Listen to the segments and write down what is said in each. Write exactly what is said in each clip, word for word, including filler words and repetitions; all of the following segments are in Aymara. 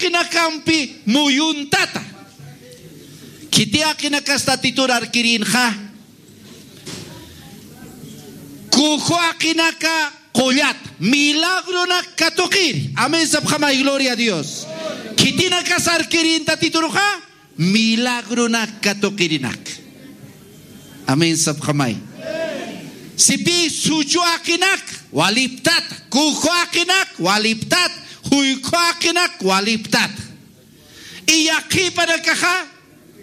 jaqinakampi muyuntata. Khiti jaqinakas Tatitur arkirinxa. Kuju jaqinaka qullat, milagronak katuqiri. Amén sapxamay, gloria a Dios. Khitinakas arkirin Tatiturxa, milagronak katuqirinak. Amén sapxamay. Sipi suchu jaqinak waliptat, kuju jaqinak waliptat, juykhu jaqinak waliptat. Iyaqhipanakaxa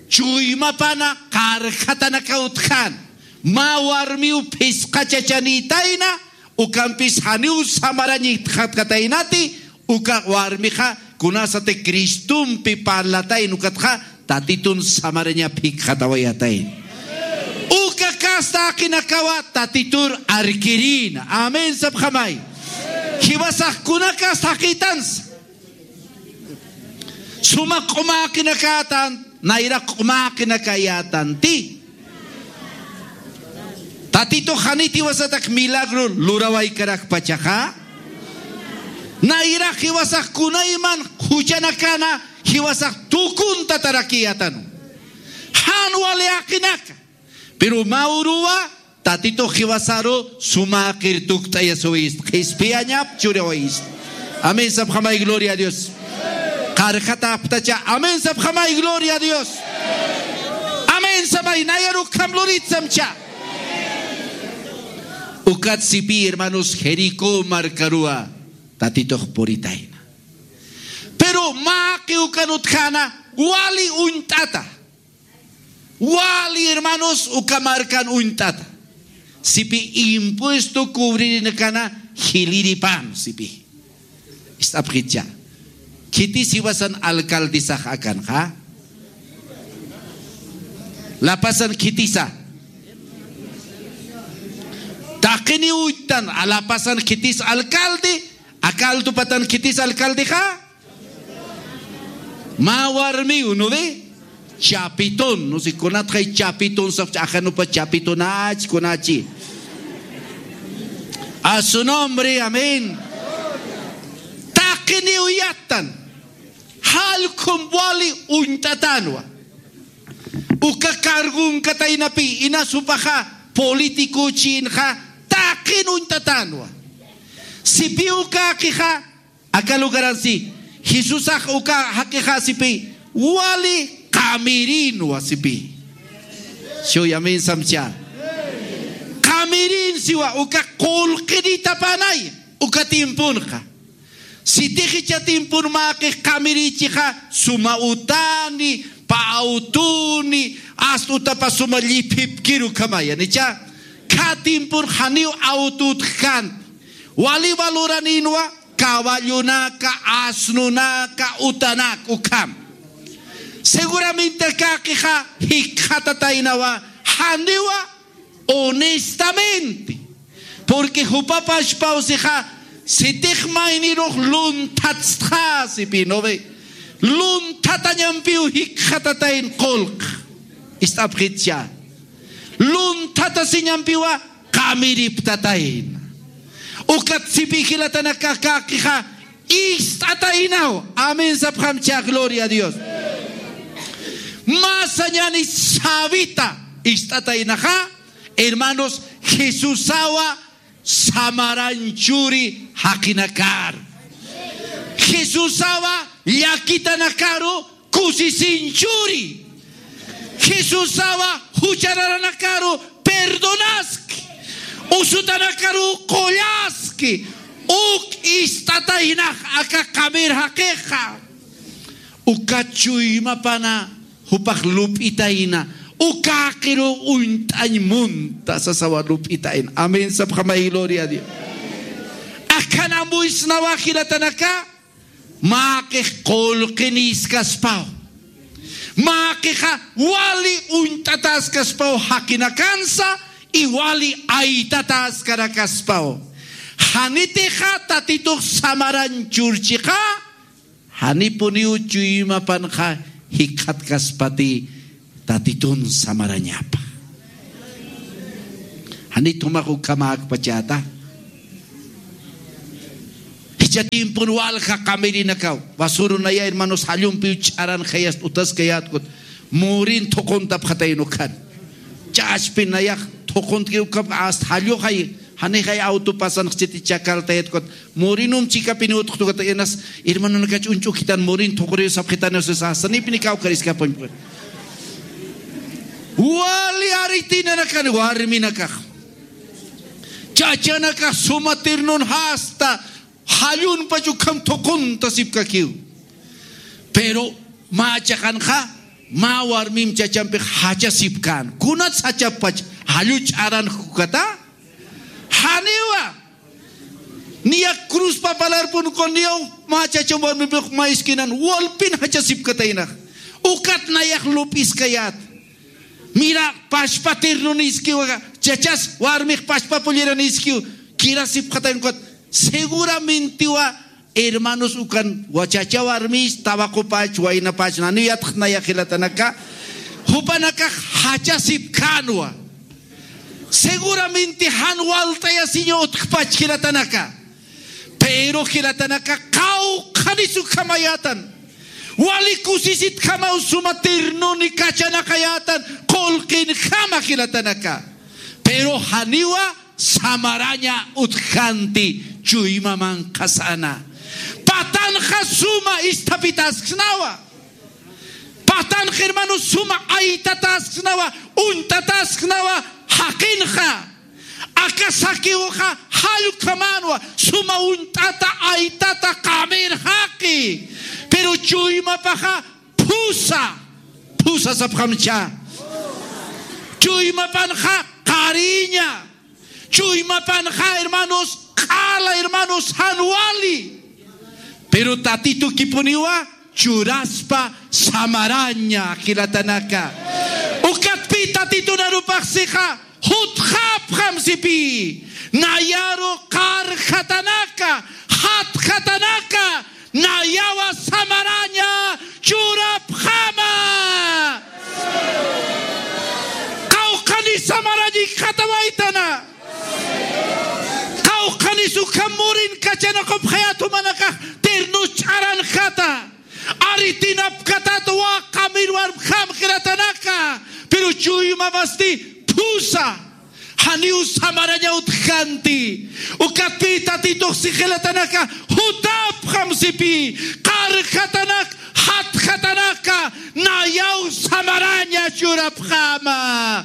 chuymapana qarjatanaka utjän. Mä warmiw phisqa chachanïtayna, ukampis janiw samarañitxatkataynati, uka warmixa kunasati Cristompi parlatayna ukatxa Tatitun samarañap jikxatawayatayna. Uka kasta jaqinakawa Tatitur arkirïna. Amén sapxamay. Jiwasax kunakas jaqïtansa. Suma q'uma jaqinakayätan, nayra q'uma jaqinakayätanti. Tatitux janit jiwasatak milagro lurawaykarakpachaxa. Nayra jiwasax kunayman juchanakana jiwasax tukuntatarakïyätanu. Jan wali jaqinaka. Pero mä uruwa Tatitux jiwasaru suma jaqir tukt'ayasiwayist, qhispiyañap churawayist. Amén sapxamay, gloria a Dios. Qarjata aptacha, amén sapxamay, gloria a Dios. Amén samay, nayaru ukham lurit samcha. Ukat sipi hermanos, Jericó markaruwa Tatitux puritayna. Pero mä jaqi ukan utjäna wali uñt'ata. Wali hermanos, uka markan uñt'ata. Sipi impuesto cubririnakana jiliripan, sipi. Ist'apxitcha. Khitis jiwasan alcaldesax akanxa. La Pazan khitisa. Taqini uñt'tan, a La Pazan khitis alcalde, aka Altupatan khitis alcaldexa. Mä warmiw, ¿no ve? Chapitón, no sé, kunatxay chapitón, sap, ajanupa chapitonach, kunachi. A su nombre, amén. Taqiniw yattan. Jallkhum wali uñt'atänwa. Uka cargonkataynapi, inas jupaxa político chinxa, taqin uñt'atänwa. Sipi uka jaqixa, aka lugaransi, Jesusax uka jaqixa sipi, wali qamirinwa sipi. Shuyamin samcha. Qamirin siwa uka qullqinitapanay, uka tiemponxa. Sitix jichha tiempon mä jaqix qamirichixa, suma utani, pä autoni, asta utapa suma lliphipkir ukhamaya, ¿no? Jichha, khä tiempon janiw auto utjkänti. Wali valoraninwa, caballonaka, asnonaka, utanaka, ukham. Seguramente aka jaqixa jikxatataynawa, janiwa honestamente. Porque jupa pachpaw sixa, sitix maynirux lunthatstxa sipi, ¿no ve? Lunthatañampiw jikxatatayn qullq. Ist'apxitcha. Lunthatasiñampiwa qamiriptatayna. Ukat sipi jilatanaka aka jaqixa ist'ataynaw. Amén sapxamcha, gloria a Dios. Mä sañäni sabita ist'ataynaxa, hermanos, Jesusawa samaran churi jaqinakar. Jesusawa llakitanakaru kusisin churi. Jesusawa juchararanakaru perdonaski. Usutanakaru qullaski. Uk ist'ataynax aka qamir jaqixa. Uka chuymapana jupax lup'itayna. Uka jaqiru uñt'añ munta sasawa lup'itayna. Amén sapxamay, gloria a Dios. Akham amuyasnawa jilatanaka. Mä jaqix qullqinïskaspaw. Mä jaqixa wali uñt'ataskaspaw jaqinakansa, y wali aytataskarakaspaw. Janitixa Tatitux samaran churchixa, janipuniw chuymapanxa jikxatkaspati Tatitun samarañapa. Janit jumax ukhamäkpachäta. Cha tiempon walja qamirinakaw, basurunaya hermanos, jallumpiw ch'aranxayast utaskayätkut, murin thuquntapxatayn ukan. Chachpi nayax thuquntki ukap hasta jalluxay, janixay auto pasanx chiti chakaltayatkut, murinum chikapini utxtukata inas, hermanonakach uñch'ukitan murin thuquriw sapxitan, sasa nipnikaw kariskapañ. Wali aritinanakan warminakax. Chachanakax suma tirnun hasta jallunpach ukham thuqunta sipkakiw. Pero mä chaqanxa, mä warmim chachampix jachasipkän. Kunats jachapach jallu ch'aran jukata? Janiwa. Niya cruzpa palarpun kun niyaw mä chacham warmipix mä iskinan walpin jachasipkataynax. Ukat nayax lup'iskayät. Mira, pachpa tirnun iskiw, chachas warmix pachpa pulliran iskiw, kirasipxatayn ukat. Seguramentiwa, hermanos, ukan wachacha warmis, tabaqupach, waynapach, nani yatxnaya jilatanaka, jupanakax jachasipkänwa. Seguramenti jan walt'ayasiña utjpach jilatanaka. Pero jilatanaka qawqhanis ukhamayätan. Wali kusisitjamaw suma tirnuni kachanaqayätan qullqinjama jilatanaka. Pero janiwa samaraña utjkänti chuyma manqhasana. Patanxa suma isthapitasknawa. Patanxa, hermanos, suma aytatasknawa, uñt'atasknawa jaqinxa. Aka Zaqueoxa jall ukhamänwa, suma uñt'ata, aytata, qamir jaqi. Pero chuymapaxa phusa, phusa sapxamcha. Chuymapanxa qariña. Chuymapanxa, hermanos, q'ala, hermanos, jan wali. Pero Tatitukipuniwa churaspa samaraña jilatanaka. Ukatpï Tatitun arupax sixa jutxapxam sipï. Nayaru qarjatanaka, jatjatanaka, nayawa samaraña churapxama. Qawqhanis samaraña ikxatawaytana. Qawqhanis ukham murin kachanaqupxayät jumanakax tirnus ch'aranxata. Aritinapkatat waqamir warmjam jilatanaka. Pero chuymamasti phusa. Janiw samaraña utjkänti. Ukatpï Tatitux si jilatanaka jutapxam sipï. Qarjatanak, jatjatanaka, nayaw samaraña churapxama.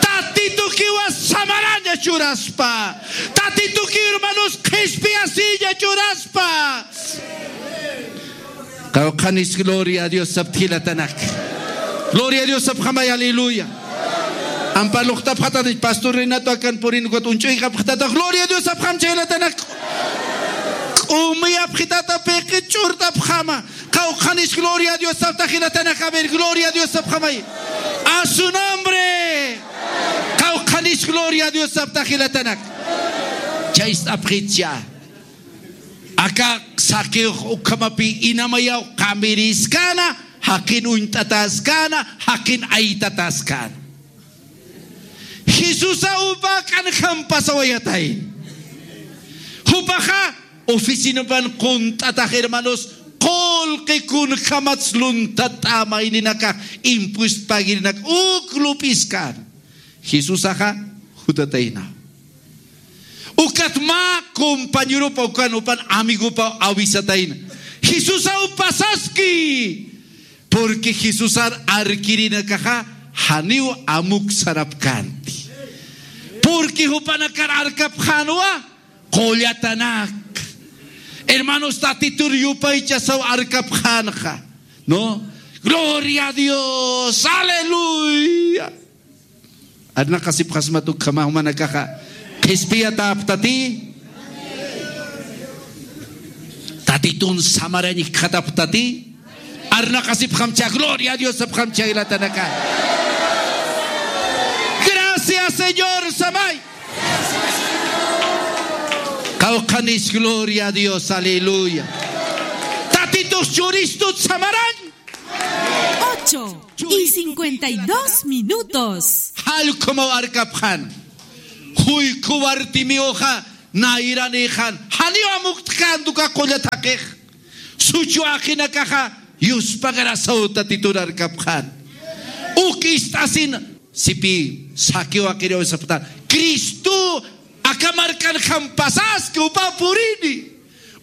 Tatitukiwa samaraña churaspa. Tatituki, hermanos, qhispiyasiña churaspa. Qawqhanis gloria a Dios sapxta jilatanak. Gloria a Dios sapxamay, aleluya. Ampa luqtapxatanich pastor Renato akan purin ukat uñch'uyxapxtata, gloria a Dios sapxam chay jilatanak. K'umiyapxitata piqi ch'urtapxama. Qawqhanis gloria a Dios sapxta jilatanak, a ver, gloria a Dios sapxamay. A su nombre. Qawqhanis gloria a Dios sapxta jilatanak. Chayist'apxitcha. Aka Zaqueo ukhamapï inamayaw qamiriskana, jaqin uñt'atäskana, jaqin aytatäskana. Jesusa upa k'anjam pasawayatay. Jupaxa oficinapan qunt'atax, hermanos, qullqi kunjamats luntata mayninakax, impuest pagirinak uk lup'iskana. Jesusaxa jutatayna. Ukat mä compañeropa ukan, upan amigopa avisatayna. Jesusaw pasaski. Porque Jesusar arkirinakaxa janiw amuk sarapkänti. Porque jupanakar arkapxänwa qullatanak. Hermanos, Tatitur yupaychasaw arkapxänxa. ¿No? Gloria a Dios. Aleluya. Arnaqasipxasmat ukhama jumanakaxa. Qhispiyatäpxtati. Tatitun samarañ ikxatapxtati. Arnaqasipxamcha, gloria a Dios sapxamcha jilatanaka. Gracias, Señor, samay. Qawqhanis, gloria a Dios, aleluya. Tatitux churistut samarañ. Ocho y cincuenta y dos minutos. Jall ukhamaw arkapxän. Juykhu Bartimeuxa Nayranïxan, janiw amukt'känti uka qulla thaqix. Suchu aqinakaxa yuspagrasaw Tatitur arkapxän. Uk ist'asin, sipï Zaqueo aqiriw sapxta, Cristo aka markanjam pasaski, jupa purini.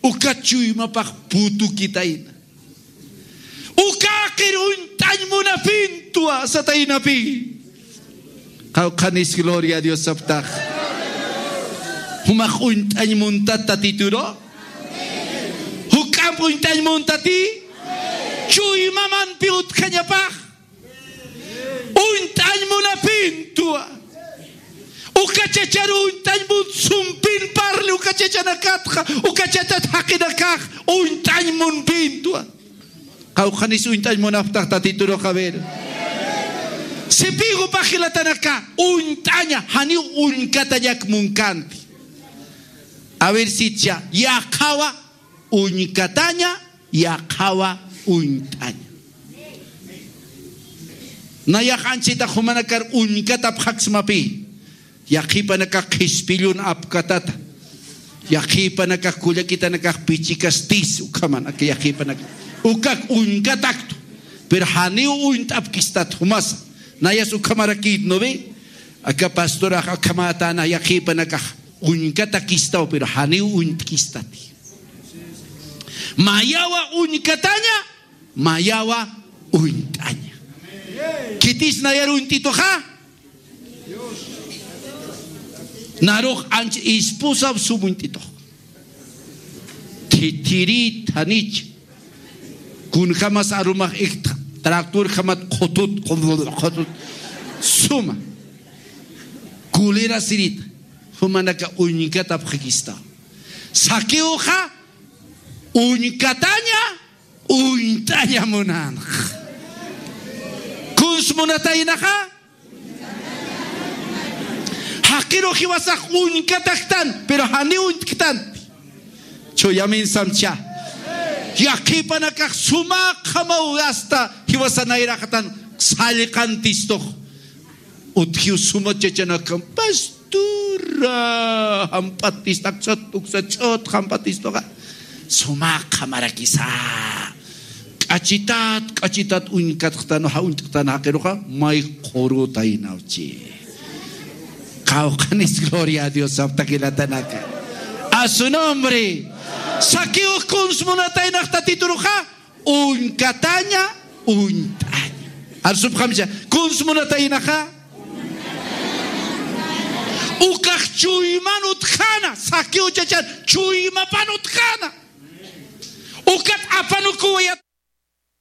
Ukat chuymapax putukitayna. Uka aqir uñt'añ munapïntwa sataynapï. Qawqhanis gloria a Dios sapxtax. Jumax uñt'añ muntat Tatituru. Juk'amp uñt'añ muntati. Chuymamampi utjañapax. Uñt'añ munapïntwa. Uka chachar uñt'añ mun sumpin parli uka chachanakatxa, uka chachat jaqinakax uñt'añ munpïntwa. Qawqhanis uñt'añ munapxtax Tatiturux, a ver. Sipï jupax jilatanaka, uñt'aña, janiw uñkatañak munkänti. A ver, sitcha, yaqhawa uñkataña, yaqhawa uñt'aña. Nayax anchhitax jumanakar uñkatapxaksmapï. Yaqhipanakax qhispillun apkatata. Yaqhipanakax kullakitanakax pichikastis ukhaman, aka yaqhipanakax. Ukak uñkataktu. Pero janiw uñt'apkistat jumasa. Nayas ukhamarakït, ¿no ve? Aka pastorax akhamätana yaqhipanakax uñkatakistaw, pero janiw uñt'kistati. Mayawa uñkataña, mayawa uñt'aña. Khitis nayar uñt'ituxa. Narux anch esposa sum uñt'itux. Thithirït, janich. Kunjamas arumax iktxa, tractorjamat qhutut, qhutut, qhutut. Suma. Kulera sirït. Jumanaka uñkatapxakistaw. Zaqueoxa uñkataña, uñt'aña munanx. Kuns munataynaxa. Jaqirux jiwasax uñkataktan, pero janiw uñt'ktanti. Chuyamin samcha. Yaqhipanakax sumax jamaw hasta jiwasa nayraqatan sallqantistux. Utjiw suma chachanakam, pastura, jamp'atistaksa, tuksa ch'ut jamp'atistuxa. Sumax jamarakisa. K'achitat, k'achitat uñkatxtan, ja uñt'tan jaqiruxa, may qurutaynawchi. Qawqhanis gloria a Dios sapxta jilatanaka. A su nombre. Zaqueo kuns munataynax Tatituruxa, uñkataña, uñt'aña. Arsupxamcha, kuns munataynaxa. Ukax chuyman utjäna, Zaqueo chachan, chuymapan utjäna. Ukat apanukuwa